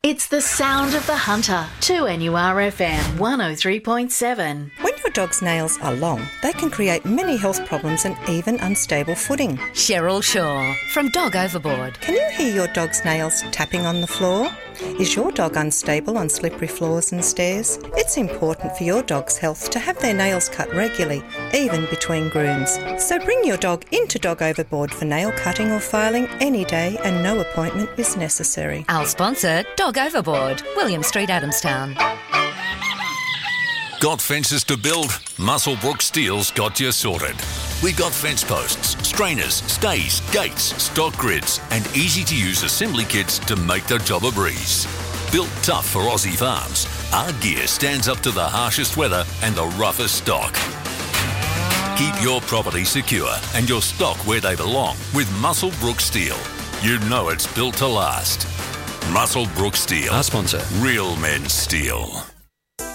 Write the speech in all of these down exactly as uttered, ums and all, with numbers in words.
It's the sound of the hunter. two N U R F M one oh three point seven. When your dog's nails are long, they can create many health problems and even unstable footing. Cheryl Shaw from Dog Overboard. Can you hear your dog's nails tapping on the floor? Is your dog unstable on slippery floors and stairs? It's important for your dog's health to have their nails cut regularly, even between grooms. So bring your dog into Dog Overboard for nail cutting or filing any day, and no appointment is necessary. Our sponsor, Dog Overboard, William Street, Adamstown. Got fences to build? Musselbrook Steel's got you sorted. We've got fence posts, strainers, stays, gates, stock grids, and easy-to-use assembly kits to make the job a breeze. Built tough for Aussie farms, our gear stands up to the harshest weather and the roughest stock. Keep your property secure and your stock where they belong with Musselbrook Steel. You know it's built to last. Musselbrook Steel. Our sponsor. Real men steel.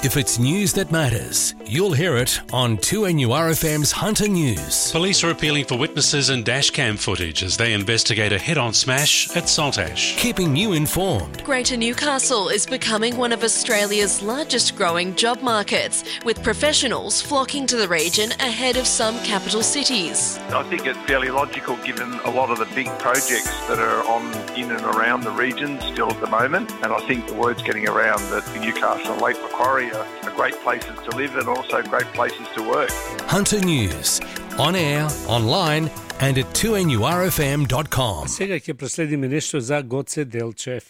If it's news that matters, you'll hear it on two N U R F M's Hunter News. Police are appealing for witnesses and dashcam footage as they investigate a head-on smash at Saltash. Keeping you informed. Greater Newcastle is becoming one of Australia's largest growing job markets, with professionals flocking to the region ahead of some capital cities. I think it's fairly logical given a lot of the big projects that are on in and around the region still at the moment, and I think the word's getting around that Newcastle and Lake Macquarie are great places to live and also great places to work. Hunter News, on air, online and at two N U R F M dot com. Сега ќе проследиме нешто за Гоце Делчев.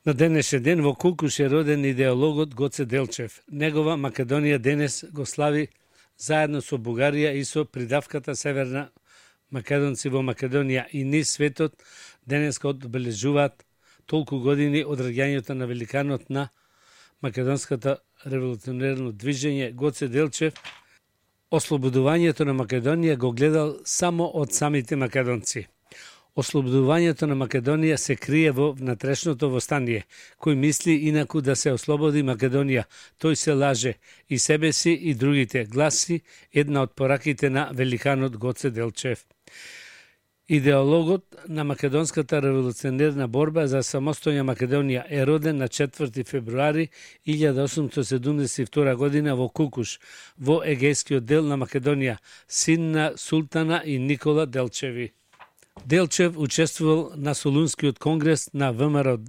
На денешен ден во Кулкуш е роден идеологот Гоце Делчев. Негова Македонија денес го слави заедно со Бугарија и со придавката Северна македонци во Македонија и низ светот денеска одбележуваат толку години од раѓањето на великанот на македонската револуционерно движење Гоце Делчев. Ослободувањето на Македонија го гледал само од самите македонци. Ослободувањето на Македонија се крие во внатрешното востание. Кој мисли инаку да се ослободи Македонија, тој се лаже и себе си и другите, гласи една од пораките на великанот Гоце Делчев. Идеологот на македонската револуционерна борба за самостојна Македонија е роден на четврти февруари илјада осумстотини седумдесет и втора година во Кулкуш, во егејскиот дел на Македонија, син на Султана и Никола Делчеви. Делчев учествувал на Солунскиот конгрес на ВМРО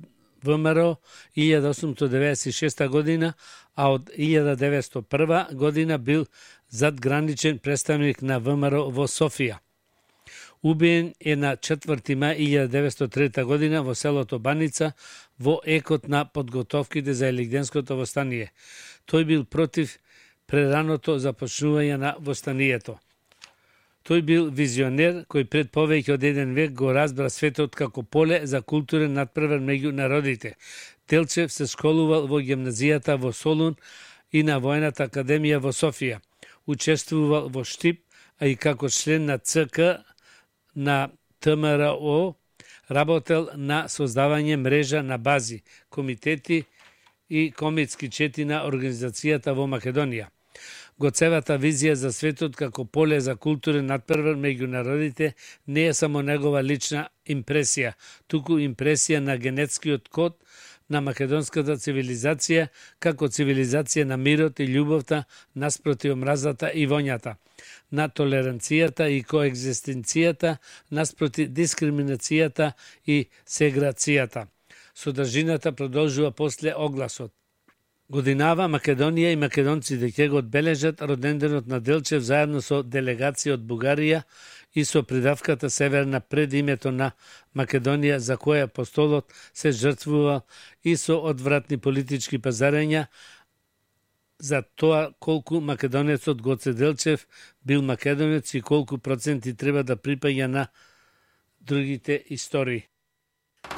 ВМРО илјада осумстотини деветдесет и шеста година, а од илјада деветстотини и прва година бил задграничен представник на ВМРО во Софија. Убиен е на четврти мај илјада деветстотини и трета година во селото Баница во екот на подготовките за Елигденското востание. Тој бил против прераното започнување на востанието. Тој бил визионер кој пред повеќе од еден век го разбра светот како поле за културен надпревар меѓу народите. Делчев се школувал во гимназијата во Солун и на Воената академија во Софија. Учествувал во Штип, а и како член на ЦК на ТМРО, работел на создавање мрежа на бази, комитети и комитски чети на организацијата во Македонија. Гоцевата визија за светот како поле за културен надпревар меѓу народите не е само негова лична импресија, туку импресија на генетскиот код на македонската цивилизација како цивилизација на мирот и љубовта наспроти омразата и воњата, на толеранцијата и коегзистенцијата наспроти дискриминацијата и сеграцијата. Содржината продолжува после огласот. Годинава Македонија и македонците ќе го одбележат роденденот на Делчев заедно со делегација од Бугарија и со придавката Северна пред името на Македонија, за која апостолот се жртвува и со одвратни политички пазарења за тоа колку македонецот Гоце Делчев бил македонец и колку проценти треба да припаѓа на другите истории.